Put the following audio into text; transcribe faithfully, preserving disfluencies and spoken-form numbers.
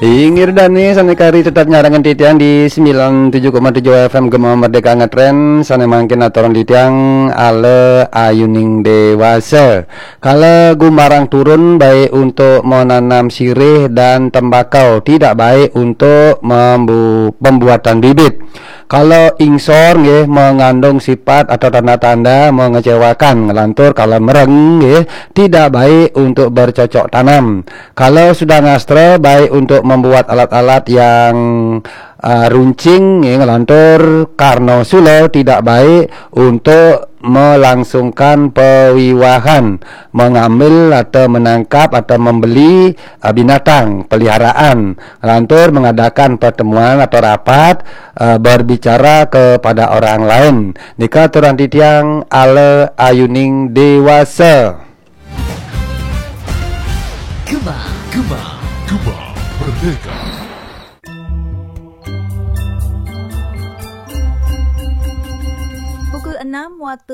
Inggih dane sane kari tetap nyarengan titiang di sembilan tujuh koma tujuh F M Gema Merdeka Ngetren, sane mangkin aturan titiang ala ayuning dewasa. Kala gumarang turun baik untuk menanam sirih dan tembakau, tidak baik untuk membu-, pembuatan bibit. Kalau ingsor nggih mengandung sifat atau tanda-tanda mengecewakan, ngelantur kalau mereng nggih tidak baik untuk bercocok tanam. Kalau sudah ngastra baik untuk membuat alat-alat yang uh, runcing nggih, ngelantur karno sula tidak baik untuk melangsungkan pewiwahan, mengambil atau menangkap atau membeli uh, binatang peliharaan, ngelantur mengadakan pertemuan atau rapat uh, berbicara kepada orang lain. Nika aturan titiang ala ayuning dewasa. Gema, Gema, Gema Merdeka. Pukul enam waktu